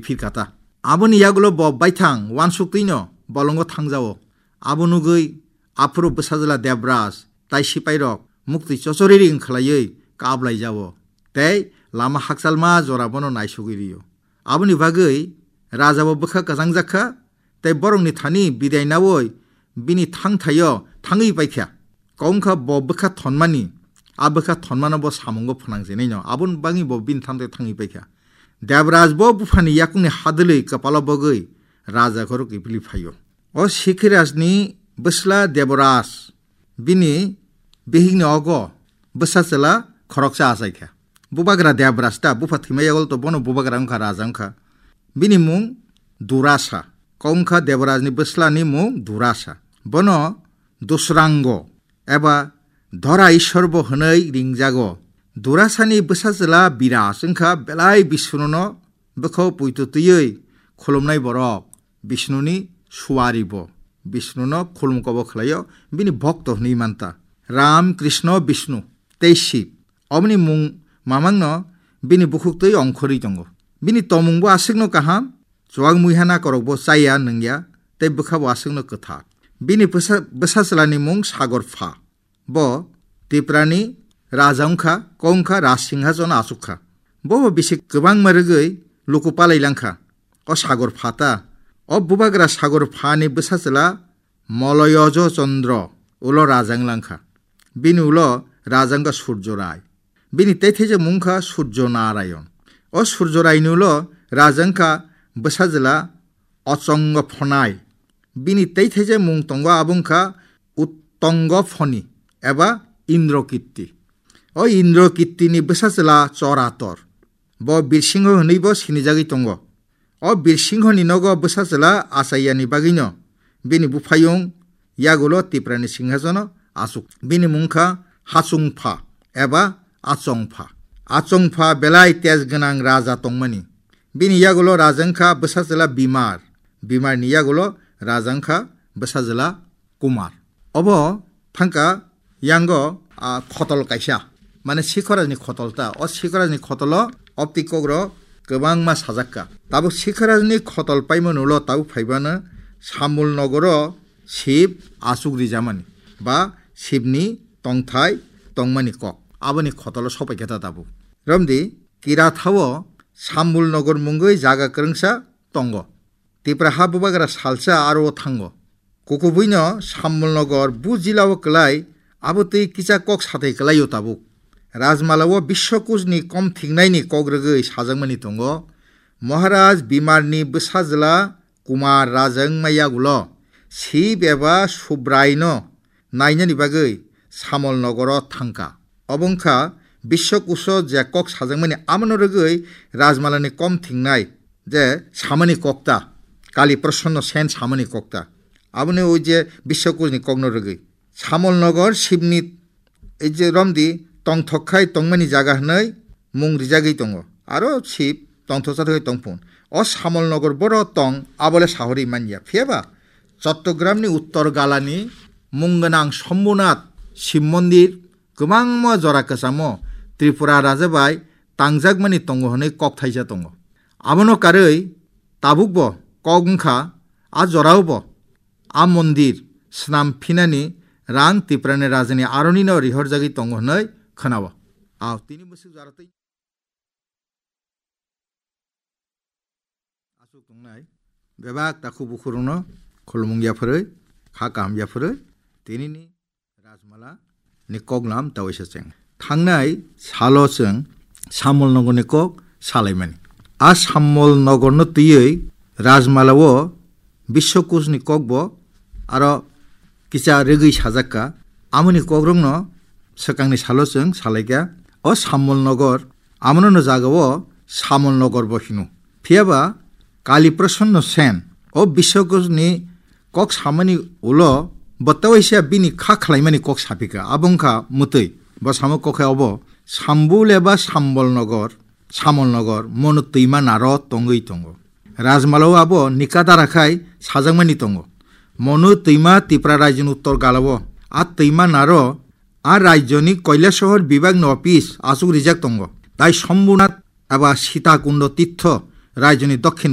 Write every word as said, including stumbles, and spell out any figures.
phirkha ta. Aboni yagulo bo baithang uansuk twino bolongo thangjao. Abo nugwi aphuru bwsajwla Debraj tai sipairok muktwi chochoriri wng khlaiwi kaplaijao tei lama hakchalma jora bono naisugwi rio. Aboni bagwi raja bo bwkha kwchangjakha tei borokni thani bidai naui bini thangthaio thangwi paikha. Kok wngkha bo bwkha thonmani, a bwkha thonmano bo samungo phnangjenaino, aboni bagwi bo bini thangthaio thangwi paikha. Debraj bo buphani yakungni hadwlwi kwpalo bogwi raja khoro kiphilwi phaio. O Sikhirajni bwsla Debraj bini bihikni ogo bwsa chwla khoroksa achaikha. Bubagra Debraj ta, bupha thwima yagol to bono bubagra wngkha, raja wngkha. Bini mung Durasa. Kok wngkha Debrajni bwslani mung Durasa. Bono Dusrango eba Dora Ishwar bo hwnwi ringjago. Durasani bwsa chwla Biraj wngkha belai Bishnuno bwkha puito twiwi khulumnai borok. Bishnuni suari bo. Bishnuno khulum kobo khlaio, bini bhokto hwnwi manta. Ram, Krishna, Bishnu tei Shiv. Oboni mung mamangno bini bukhuktwi ongkhorwi tongo. Bini tomungbo aswkno kaham, chuak muiha nakorokbo chaya nungya, tei bwkhabo aswkno kwthar. Bini bwsa-, bwsa chwlani mung Sagor Pha. Bo Tiprani raja wngkha, kok wngkha Raj Singhason achukha. Bobo bisi kwbangma rwgwi luku palai langkha. O Sagor Pha ta, o bubagra Sagor Phani bwsa chwla Moloyojo Chandra ulo raja wng langkha. Bini ulo raja wngkha Surjo Rai. Bini teithaijak mung wngkha Surjo Narayon. O Surjo Raini ulo raja wngkha bwsa chwla Ochongo Phonai. Bini teithaijak mung tongo, abo wngkha Uttongo Phoni eba Indrokirti. O Indrokirtini bwsa chwla Chorator. Bo Birsingho hwnwibo sinijagwi tongo. O Birsinghoni nogo bwsa chwla achaiyani bagwino bini buphayung yagulo Tiprani singhasono achuk. Bini mung wngkha Hachungpha eba Achongpha. Achongpha belai tej gwnang raja tongmani. Bini yagulo raja wngkha bwsa chwla Bimar. Bimarni yagulo raja wngkha bwsa chwla Kumar. Obo thangka yango, a, khotol kaisa, mane Sikhorajni khotol ta. O Sikhorajni khotolo opti kokrok kwbangma sajakka. Tabuk Sikhorajni khotol paimani ulo tabuk phaibano Samul nogoro Sib achuk rijamani ba Sibni tongthai tongmani kok. Aboni khotolo sopaikha ta tabuk. Romdi, Kirathao Samul nogor mungwi jaga kwrwngsa tongo. Tipra ha bubagra salsa aro o thango. Kukubuino Sambolnogor bu jilao kwlai, abo twi kisa kok sathai kwlaio tabuk. Rajmalao Biswakusni kom thiknaini kok rwgwi sajakmani tongo. Maharaj Bimarni bwsajwla Kumar raja wngma yagulo Sib eba Subraino nainani bagwi Samolnogoro thangkha. Obo wngkha Biswakuso je kok sajakmani, abono rwgwi Rajmalani kom thingnai je samani kokta, Kali Prasonno Sen samani kokta. Aboni oi je Biswakusni kokno rwgwi. Samolnogor Sibni ei je romdi tongthok khai tongmani jaga hwnwi mung rijagwi tongo. Aro Sib tongthoksa thangwi tongphun. O Samolnogor boro tong abole sahori manya. Phiyaba Chottogramni uttor galani mung gwnang Sombhonath Sib Mondir kwbangma jora kwchamo Tripura raja bai tangjakmani tongo hwnwi kok thaisa tongo. Abono karwi tabukbo kok wngkha, a jorao bo a mondir snam phinani rang Tiprani rajani aronino rihorjagwi tongo hwnwi khwnao. Ao tini bwswk jora twi aswk tongnai bebak takhuk bukhurokno khulumung yapharwi, kha kaham yapharwi, tinini Rajmala ni koklam tawaisa cheng. Thangnai salo chwng Samol Nogorni kok salaimani. A Samol Nogorno twiwi Rajmalao Biswakusni kokbo aro kisa rwgwi sajakka. Amoni kokrokno swkangni salo chwng salaikha. O Samol Nogor, amono no jagao Samol Nogor bo hino. Phiyaba Kali Prasonno Sen o Biswakusni kok samani ulo bo tawaisa bini kha khlaimani kok saphikha. Abo wngkha mwtwi. Bo samo kok khe obo Sambul eba Sambol Nogor, Samol Nogor, mono twima naro tongwi tongo. Rajmalao abo nikadara khai sajakmani tongo. Mono twima Tipra rajyoni uttor galao. A twima naro a rajyoni Koilasohor bibagni office achuk rijak tongo. Tai Sombhonath eba Sitakundo Tirtho rajyoni dokhin